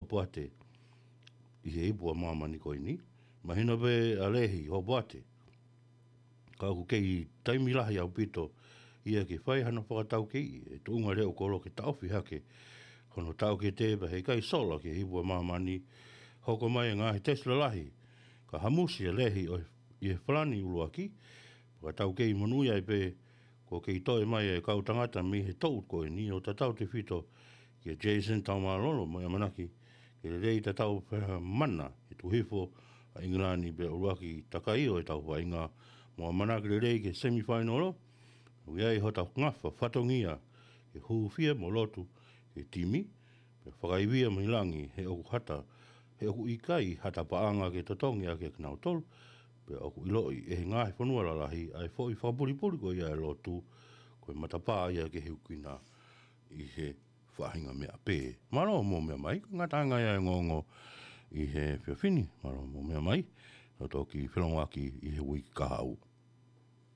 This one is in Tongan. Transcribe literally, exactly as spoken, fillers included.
Hopoate ʻi he ipu ʻa māmani ko eni. Mahino pē ʻa Lehi Hopoate, ka ʻoku kei taimi lahi ʻaupito ia ke fai hano fakataukei e tuʻunga leʻo kolo ke taʻofi hake hono taʻokete pea heʻikai sola ki he ipu ʻa māmani, hoko mai e ngaahi tesi lalahi ka hamusi ʻa Lehi ʻi he falani ʻuluaki. Fakataukei monūʻia ai pē kuo kei toe mai e kau tangata mei he toʻu ko eni ʻo tatau tefito kia Jason Taumālolo, mo e ʻamanaki ke lelei tatau pē ha mana e tuʻu hifo ʻa ʻIngilani pea ʻuluaki takai ʻo e tau vaʻinga, mo ʻamanaki lelei ke semifinal. ʻOku ʻi ai hota ngafa fatongia ke hūfia mo lotu ki he timi, pea fakaivia mei langi he ʻoku hata, he ʻoku ʻikai hata paʻanga ke totongi ʻaki kinautolu, pea ʻoku ʻiloʻi ʻe he ngaahi fonua lalahi ʻa e foʻi fakapulipuli ko ia e lotu, ko e matapā ia ke hiukina ʻi he faʻahinga meʻa pē. Mālō mo meʻa mai, ko e ngataʻanga ia e ongoongo ʻi he efiafi ni. Mālō mo meʻa mai, ʻo toki felongoaki ʻi he uike kahaʻu.